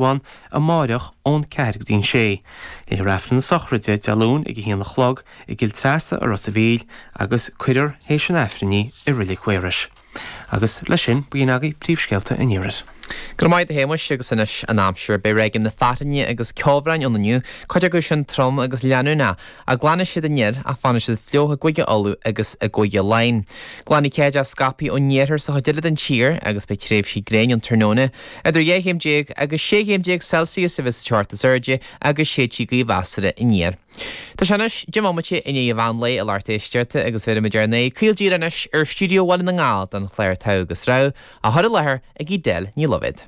Indreabhán amáireach ón 4 go dtí an 6. Léifear Aifreann na sochraide Dé Luain ag 1 a chlog i gCill Treasa i Ros a' Mhíl agus cuirfear théis an Aifrinn í i Reilig Mhaorais. Agus leis sin, b'in agaibh príomhscéalta an Iarthair. Go raibh maith agat a Shéamuis agus anois an aimsir. Beidh ráigeanna na fearthainne agus ceobhráin ann inniu, cuid acu sin trom agus leanúnach. Ach glanfaidh siad aniar ach fanfaidh siad fliuch i gCúige Uladh agus i gCúige Laighean. Glanfaidh céideach scaipthe ón iarthar sa chuid eile den tír agus beidh tréimhsí gréine ann tráthnóna. Idir 12 chéim agus 16 chéim Celsius a bheas sa teocht is airde agus séidfidh gaoth mheasartha aniar. Tá sé anois 10 mbomaite i ndiaidh an mheán lae a lucht éisteachta agus bhéarfaimid ár n-aghaidh caol díreach anois ar stiúideo Bhaile na nGall don chlár Togha agus Rogha, á chur i láthair ag Edel Ní Loibhéad.